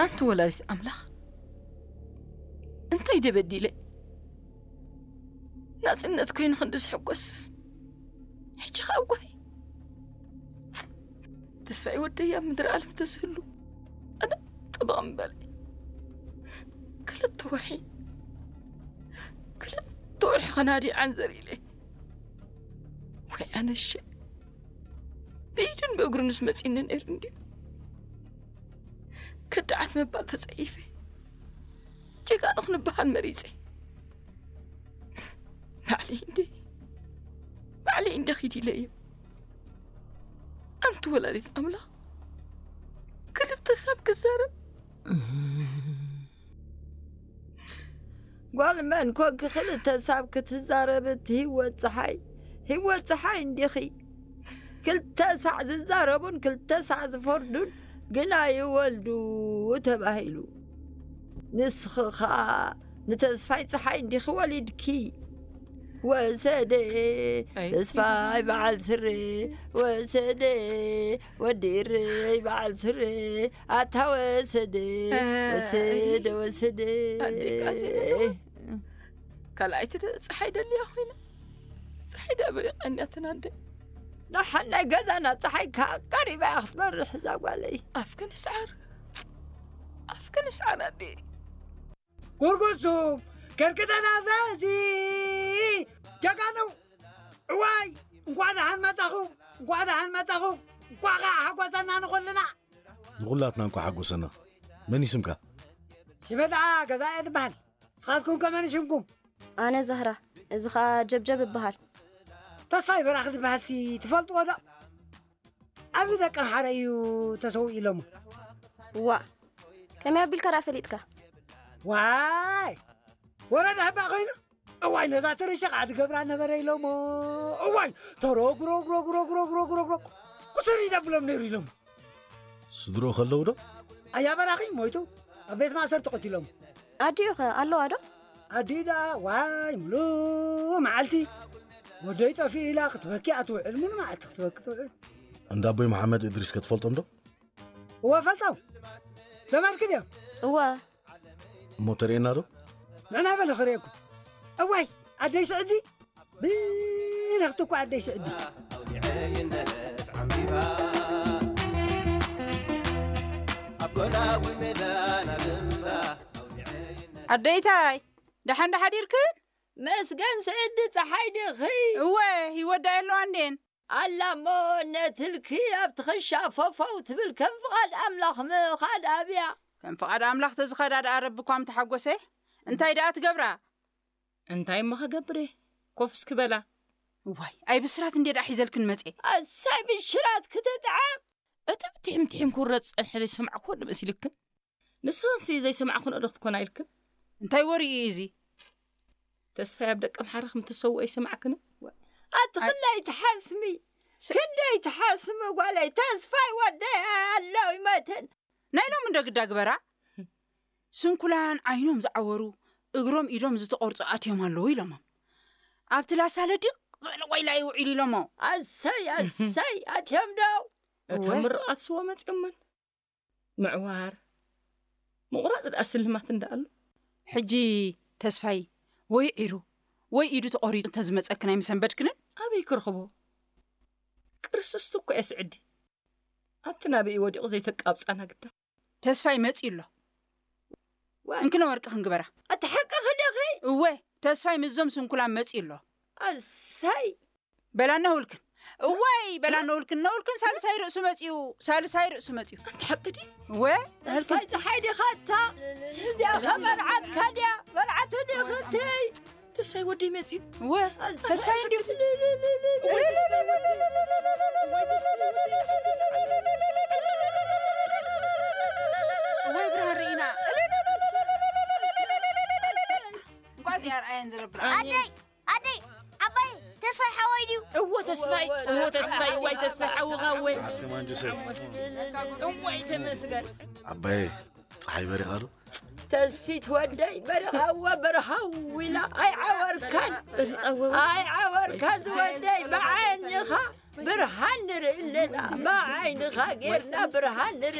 ኣንቲ ወላዲት ኣምላኽ፣ እንታይ ደበዲለ? ናጽነት ኮይኑ ክንዲ ዝሕጎስ፣ ሕጂ ኸኣ ጓሂ። ተስፋይ ወደይ ኣብ ምድሪ ዓለም ተዝህሉ፣ ኣነ ጥብቕ ምበለ። ክልተ ወርሒ፣ ክልተ ወርሒ ኸናዲ ዓንዘር ኢለ። ወይ ኣነሸ፣ ብኢዱን ብእግሩንስ መጺኒ ነይሩ እንድዩ። ከዳዓት ምባል ተጸይፈ። ጀጋኑ ክንበሃል መሪጸ። ባዕለይ እንደ፣ ባዕለይ እንደ ኺድ ኢለዮ። ኣንቲ ወላዲት ኣምላኽ፣ ክልተ ሳብ ክዛረብ። ጓል መን ኮንኪ ክልተ ሳብ ክትዛረብ? እቲ ህይወት ፀሓይ፣ ህይወት ፀሓይ እንዲኺ። ክልተ ሳዕ ዝዛረቡን ክልተ ሳዕ ዝፈርዱን ግና ይወልዱ ተባሂሉ። ንስኺ ኸኣ ንተስፋይ ፀሓይ እንዲኺ ወሊድኪ። ወሰደ ኣይ። ተስፋይ በዓል ስረ፣ ወሰደ ወዲ እረይ በዓል ስረ፣ ኣታ ወሰደ፣ ኣይ። ወሰደ፣ ወሰደ። ኣዴ ቃዜ በለዋ። ካልኣይቲ ደ-፣ ፀሓይ ደልያ ኮይና። ፀሓይ ደኣ በሪቓ እኒኣ ተናደ። ደሓን ናይ ገዛና ፀሓይ ከኣ ቀሪባ እያ ክትበርሕ እዛ ጓለይ። ኣፍክን ስዓር፣ ኣፍክን ስዓር ኣዴ። ጉርጉሱም፣ ከርክተና ፈዚ፣ ጀጋኑ፣ እዋይ፣ እንኳዕ ደሓን መጻኹም፣ እንኳዕ ደሓን መጻኹም፣ እንኳዕ ከኣ ሓጎሰና ንኹልና። ንኹላትና እንኳዕ ሓጎሰና። መን እዩ ስምካ? ሽመ ደኣ ገዛኢ እየ ዝበሃል። ንስኻትኩም ከ መን ሽምኩም? ኣነ ዛህራ፣ እዚ ኸኣ ጀብጀብ እበሃል። ተስፋይ በራኺ ዝበሃልሲ ትፈልጥዎ ዶ? ኣብዚ ደቀምሓረ እዩ ተሰዊኡ ኢሎሞ። ዋእ፣ ከመይ ኣቢልካ ደኣ ፈሊጥካ? ዋይ፣ ወረዳ ህባ ኮይኑ። እዋይ፣ ነዛ ትርሻ ከዓ ድገብራ ነበረ ኢሎሞ። እዋይ፣ ተሮ ግሮ ግሮ ግሮ ግሮ ግሮ ግሮ ግሮ ቁስር ይደብሎም ነይሩ ኢሎሞ። ስድሮ ከለዉ ዶ? ኣያ በራኺ ሞይቱ፣ ኣብ ቤት ማእሰርቲ ቀቲሎም። ኣዲኡ ኸ ኣለዋ ዶ? ኣዲኡ ደኣ፣ ዋይ፣ ሙሉእ መዓልቲ ወደይ ጠፊኡ ኢላ ክትበኪ ኣትውዕል፣ ሙሉእ መዓልቲ ክትበኪ ትውዕል። እንዳ ኣቦይ መሓመድ እድሪስ ከ ትፈልጦም ዶ? እወ፣ ፈልጦም። ዘመድኪ ድዮም? እወ። እሞ ተርእየና ዶ? ንዕና በለ ክርእየኩም። እዋይ፣ ኣደይ ስዕዲ። ብርኽቲ እኮ ኣደይ ስዕዲ። ኣደይታይ፣ ደሓን ዶ ሓዲርክን? መስገን ስዕዲ፣ ጸሓይ ዲኺ? እወ፣ ህይወት ደኣ የለዋ እንዴን? ኣላ እሞ ነትልኪ ኣብ ትኽሻ ፈፈው ትብል፣ ከም ፍቓድ ኣምላኽ ምኻድ ኣብያ። ከም ፍቓድ ኣምላኽ ተዝኸዳ ደኣ ረቢ እኳ ምተሓጎሰ። እንታይ ደኣ ትገብራ? እንታይ እሞ ክገብር እየ? ኮፍ እስኪ በላ። እዋይ፣ ኣይ ብስራት እንዴ ደኣ ሒዘልክን መጼ። ኣሳይ ብሽራት ክትጥዓም። እቲ ብትሒም ትሒም ክውረድ ዝጸንሐ ዘይሰማዕኩዎ ዶ መሲልክን? ንስኽንሲ ዘይሰማዕክንኦ ዶ ክትኮና ኢልክን? እንታይ ወሬ እዩ እዚ? ተስፋይ ኣብ ደቀምሓረ ከም እተሰውኦ ኣይሰማዕክንን? ኣቲ ኣይ- ክንደይ ትሓስሚ፣ ስ- ክንደይ ትሓስሚ ጓለይ፣ ተስፋይ ወደይ ኣሎ ይመትን። ናይ ሎሚ እንዶ ግዳ ግበራ። ስንኩላን ዓይኖም ዝዓወሩ፣ እግሮም ኢዶም ዝተቖርጹ ኣትዮም ኣለዉ ኢሎሞም። ኣብቲ ላሳለ ድቕ ዝበለ ዋይላ እዩ ውዒሉ ኢሎሞ። ኣሰይ፣ ኣሰይ፣ ኣትዮም ዶ? እቶም እወ። ምርቓት ስወ መጺኦምን። ምዕዋር፣ ምቑራጽ ደኣ ስልማት እንዳ ኣሎ። ሕጂ ተስፋይ ወይ ዒሩ ወይ ኢዱ ተቖሪጹ እንተዝመጸክን ኣይምሰንበድክንን? ኣበይ ክረኽቦ? ቅርስስቲ እኮ እየ ስዕዲ። ኣብቲ ናበይ ወዲቑ ዘይተቃብጻና ግዳ። ተስፋይ መጺኡ ኣሎ። ዋ። እንክነ ወርቂ ክንግበራ። ኣቲ ሓቅኺ ዲኺ? እወ፣ ተስፋይ ምስዞም ስንኩላን መጺኡ ኣሎ። ኣሰይ። በላና ውልክን። እዋይ፣ በላና ውልክን፣ ነውልክን ሳልሳይ ርእሱ መጺኡ፣ ሳልሳይ ርእሱ መጺኡ። ኣንቲ ሓቂ ድዩ? እወ፣ ተስፋይ ጸሓይ ዲኻ እታ? እዚኣ ኸ መርዓትካ ድያ? መርዓት ዲኽትይ? ተስፋይ ወደይ መጺኡ። እወ፣ ተስፋይ እንድዩ። እወ፣ ብርሃን ርኢና። እንቋዕ እዚኣ ኣርኣየን ዝረብል። ኣሜን። ኣደይ! ኣደይ! ዓባይ! ተስፋይ ሓወይ ድዩ? እዎ ተስፋይ! እዎ ተስፋይ! እዋይ ተስፋይ ሓውኻ እወይ! ኣስከማንጅሰይ። እዋይ ተመስገን! ዓባየ፣ ፀሓይ በሪቓ ዶ? ተስፊት ወደይ በሪቓ እወ በርሃው ኢላ ኣይዓወርካን! በሪቓ እወ! ኣይዓወርካን ዝወደይ ብዓይንኻ ብርሃን ንርኢ ኣለና! ብዓይንኻ ጌርና ብርሃን ንርኢ!